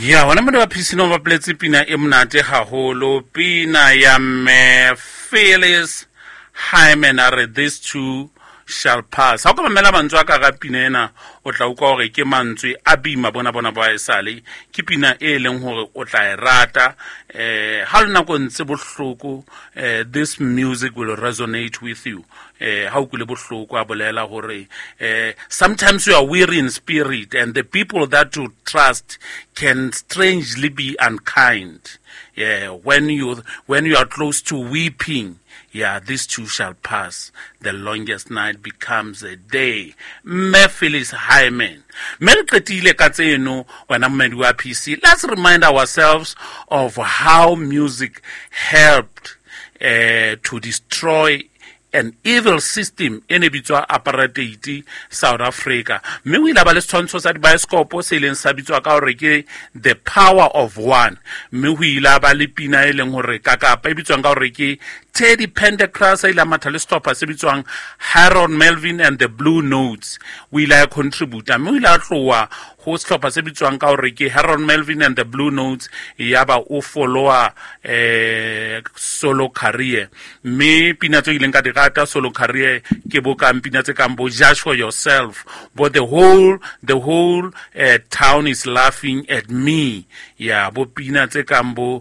Ya wena mone ba phisino ba poletse pina e monate haholo, pina ya mme Phyllis Hyman, a re "This too shall pass." Ha o ka mamela mantswe a ka ga pina ena, o tla utlwa hore ke mantswe a bima bona bona ba esale. Ke pina e leng hore o tla e rata ha le nako ntse bohloko. This music will resonate with you ha o kwile bohloko. A bolela hore sometimes you are weary in spirit and the people that you trust can strangely be unkind. Yeah, when you are close to weeping, yeah, this too shall pass. The longest night becomes a day. Mme Phyllis Hyman. Mme re qetile ka tseno, wena mmedi wa PC. Let's remind ourselves of how music helped to destroy an evil system e ne bitswa apartheid South Africa. Mme o ile a ba le setshwantsho sa dibaesekopo se ileng sa bitswa ka hore ke The Power of One. Mme ho ile a ba le pina e leng hore kakapa e bitswang ka hore ke Teddy Pendergrass, a ile a matha le sehlopha se bitswang Harold Melvin and the Blue Notes. O ile a contributa, mme o ile a tloha ho sehlopha se bitswang ka hore ke Harold Melvin and the Blue Notes, yaba o followa solo career. Mme pina tse ileng ka di rata solo career ke bo kang pina tse kang bo "Judge for Yourself", bo The whole town is Laughing at Me", ya bo pina tse kang bo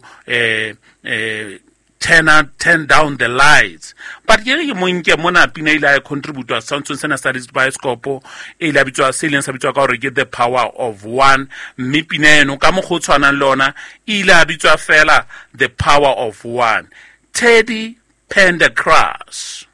Turn Down the Lights. But ke re ke monke mona pina ile a contribute setshwantshong sena sa bioscope e ile a bitswa, se ileng sa bitswa ka hore ke The Power of One. Mme pina eno ka mokgwa o tshwanang le ona e ile a bitswa fela The Power of One, Teddy Pendergrass.